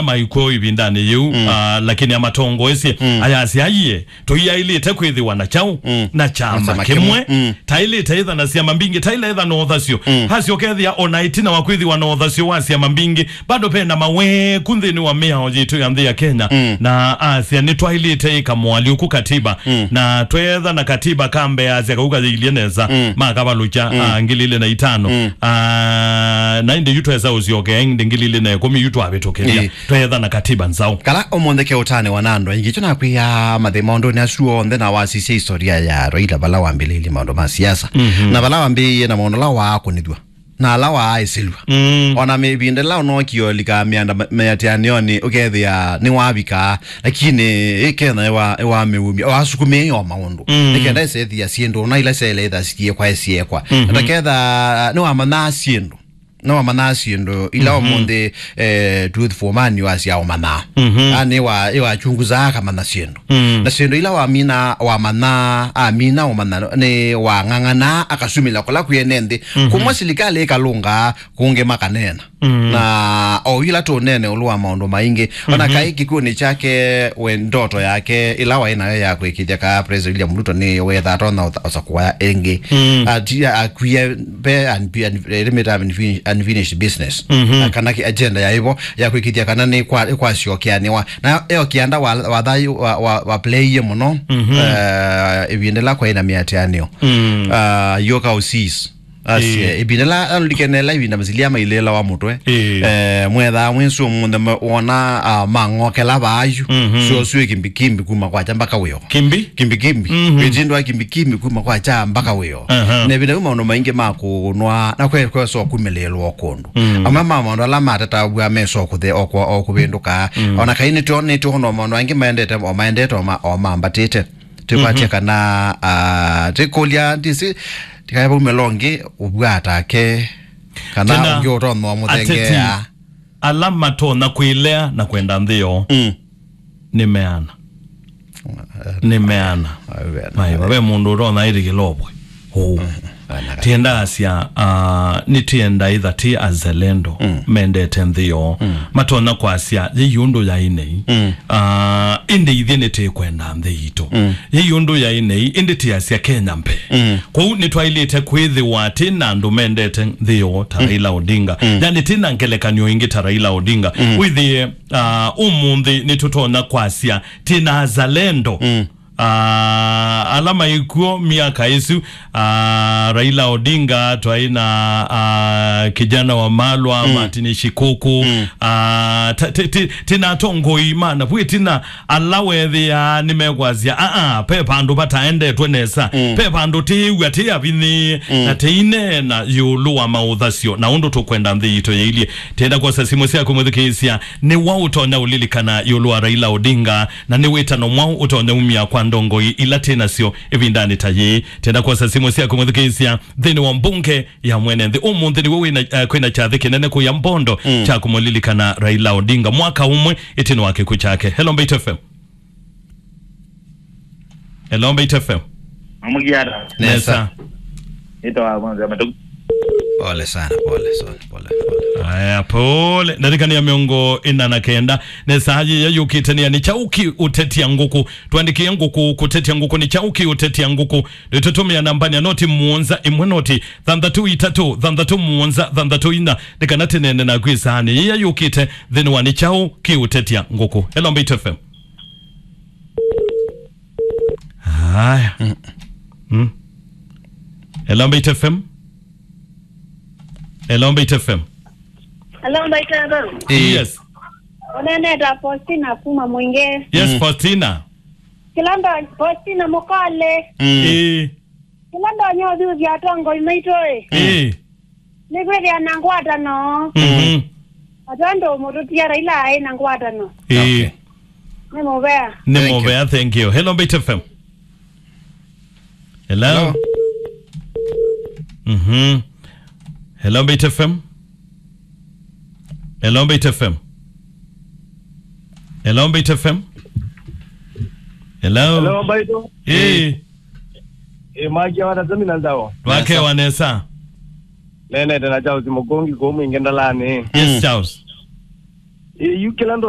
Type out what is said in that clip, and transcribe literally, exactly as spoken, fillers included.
maikw'o ĩvindanĩ yĩu, mm, ah, lakini amatongoesye, mm, ayasya, aiye, tũiaĩlĩte kwĩthĩwa na kyaũ, mm, na kyama kĩmwe. Mm. Taĩlĩte ĩtha na syama mbingĩ, taĩla ĩtha na ũthasyo. Mm. Asyoka ethĩa o na ĩtina wa kwĩthĩwa na ũthasyo wa syama mbingĩ, bado ve na maweku nthĩnĩ wa mĩao yitũ ya nthĩ ya Kenya. Mm. Na asya, nĩtwaĩlĩte ĩka moalyũku katiba. Mm. Na twetha na katiba kambeasya kauka yĩilye nesa, mm, makavalũkya, mm, ah, ngili ilĩ na itano. Mm. Ah, na ĩndĩ yu twesa ũsyokea ĩndĩ ngili ilĩ na ĩkũmi yu twavĩtũkĩlya. Ĩĩ. Twetha na katiba nzaũ. Kala ũmũnthĩ ke ũtanĩwa na andũ aingĩ, kyo nakwĩa mathĩ maũndũnĩ asu onthe na wasisya historia ya Raila vala wambĩlĩĩlye maũndũ ma siasa. Mhm. Na vala wambĩĩie na maũndũ ala waakũnĩthw'a. Na ala waaĩsĩlw'a. Mm. O na mĩvinda ĩla ũnookie ũlika mĩanda ma-, mĩatĩanĩonĩ ũkethĩa nĩwavikaa, lakini ĩ Kenya ĩwa-, ĩwamĩumya, wasukumĩe o maũndũ. Mm. Nĩ kenda ĩsethĩa syĩndũ, na ila syaĩle ĩtha siĩkwa ĩsyĩkwa. Mhm. Ataketha nĩwamanyaa syĩndũ. Nĩwamanyaa syĩndũ ila, mhm, ũmũnthĩ, eh, Truth for Man wasya ũmanyaa. Mhm. Yaani wa-, ĩwachunguzaa akamanya syĩndũ. Mm. Na syĩndũ ila wamina, wamanya, amina ũmanya, nĩ wang'ang'ana, akasumĩla kũla kwĩ ene nthĩ. Mhm. Kũmwe silikalĩ ĩkalũnga, kũngĩ makaneena. Mm. Na o yu ĩla tũneene ĩũlũ wa maũndũ maingĩ, ona, mhm, kaĩ kĩkw'ũnĩ kyake, we ndoto yake ĩla waĩ nayo ya kwĩkĩthya kaa President William Ruto nĩ wetha atonya ũsa-, ũsa kũaya ĩngĩ. Mm. Ati-, akwie ve unfi-, unfi-, ĩrĩ mĩta unfin-, unfinished business. Mhm. Na kana ki-, agenda ya ĩvo ya kwĩkĩthya kana nĩ kwa-, nĩ kwasyokeanĩwa. Na eo kĩanda wa, wa thayũ wa, wa, wa playie mũno, mhm, eh, ĩvinda ĩla kwaĩ na mĩatĩanĩo. Mm. Ah, yoka ũsis. Asye, ĩĩ, ĩvinda ĩla alikene ĩla ĩvinda masilia mailĩlawa mũtwe. Ĩĩ. Eh, mwethaa mwĩsĩ ũmũnthĩ ma-, wona, ah, mang'okela vaayu. Mhm. Syo syo kimbikimbi kuma kwakya mpaka wĩo. Kimbi? Kimbikimbi. Mhm. Wĩtindwa kimbikimbi kuma kwakya mpaka wĩo. Aha. Na ĩvinda yu maũndũ maingĩ ma kũnwa, na kwe-, kwesa kumĩlĩĩlwa o kũndũ. Mm. Amwe ma maũndũ ala matataw'a mesa o kũthe-, o kwa-, o kũvĩndũka. Mm. Ona kaĩ nĩtwonete o na maũndũ angĩ maendete, o maendete, o ma-, o mambatĩte. Tũkwatya, mhm, kana, ah, tũkũlya ndĩsĩ, tikae vau melongi, ũvwata ake, kana tena ũngĩ ũtonwa mũthengeea. Ateti ala matonya kwĩlea na kwenda nthĩ yoo. Mm. Nĩ meana. Nĩ meana. Ai, vave mũndũ ũtonya ĩtĩkĩla ũvwe. Ũu. Mm. Tienda asya, ah, nĩtienda ĩtha ti azalendo, mm, mendete nthĩ yoo. Mm. Matonya kwasya, yĩi ũndũ yaĩ nei. Mm. Ah, ĩndĩ ithyĩ nĩtĩkwenda nthĩ yitũ. Mm. Yĩi ũndũ yaĩ nei, ĩndĩ tiasya Kenya mbee. Mm. Kwoou nĩtwaĩlĩte kwĩthĩwa tĩ na andũ mendete nthĩ yoo ta, mm, Raila Odinga. Mm. Yani tĩ na ngelekany'o ĩngĩ ta Raila Odinga. Mm. Wĩthĩe, ah, ũmũnthĩ nĩtũtonya kwasya tĩ na azalendo. Mm. Ah, ala maikw'o myaka ĩsu, ah, Raila Odinga, twaĩ na, ah, kijana wa Malwa, mm, Martin Shikuku, mm, ah, ta-, ti-, ti-, tĩ na atongoi ma navu ĩtina ala wethĩaa nĩmekwasya, "Aa, pe vandũ vataendetwe nesa, mm, pe vandũ tĩĩw'a tĩ avinyĩĩ, mm, na tĩineena ĩũlũ wa maũthasyo na ũndũ tũkwenda nthĩ yitũ yĩilyĩ." Tenda kwosa simũ syaku mwĩthukĩĩsya, nĩ wa ũtonya ũlilikana ĩũlũ wa Raila Odinga? Na nĩ wĩtano mwaũ ũtonya umya kwa ndongoi ila twĩ nasyo ĩvindanĩ ta yĩĩ? Tenda kwosa simũ syaku mwĩthukĩĩsya nthĩnĩ wa mbunge ya mwene nthĩ. Ũmũnthĩ nĩw'o wĩna, eh, kwĩna kyathĩ kĩnene kũya Mbondo, mm, kya kũmũlilikana Raila Odinga mwaka ũmwe ĩtina wa kĩkw'ũ kyake. Hello, Mbaitu F M. Hello, Mbaitu F M. Mamugiara. Nesa. Nesa. Nĩtawa Mwanza Matuku. Pole sana, pole sana, pole, pole, pole. Aya, pole. Ndarikania mĩongo ĩna na kenda. Nesa, ayi ya yũkĩte nĩ ani? Kyaũ kĩũtetya ngũkũ? Twandĩkĩe ngũkũ, kũtetya ngũkũ. Nĩ kyaũ kĩũtetya ngũkũ? Nĩtũtũmĩa nambani ya noti mũonza ĩmwe noti thanthatũ itatũ thanthatũ mũonza thanthatũ inya. Nĩ kana tĩnene naku ĩsaanĩ yĩya yũkĩte nthĩnĩ wa nĩ kyaũ kĩũtetya ngũkũ. Hello, Mbaitu F M. Haya. Mm. Mm. Hello, Mbaitu F M. Hello, Mbaitu F M. Hello, Mbaitu F M. Yes. Ũneeneta Faustina kuma Mwingi. Yes, mm, Faustina. Kĩla ndo-, Faustina Mũkole. Mm. Ĩĩ. Kĩla ndonya ũthuthya atongoi maitũ ĩ. Ĩĩ. Nĩ kwĩthĩa na ngwatano. Mhm. Atandũ mũtũtia Raila aĩ na ngwatano. Ĩĩ. Okay. Nĩ mũvea. Nĩ mũvea, thank you. Hello, Mbaitu F M. Hello? Hello? Mhm. Hello, Mbaitu F M. Hello, Mbaitu F M. Hello, Mbaitu F M. Hello? Hello, Mbaitu. Ĩĩ. Ĩĩ, mwakia wa Tasemi na Nzao. Wake wa nesa. Neenete na Charles Mũkũngi kũu Mwingi Ndalani. Yes, mm, Charles. Ĩ, yu kĩla ndo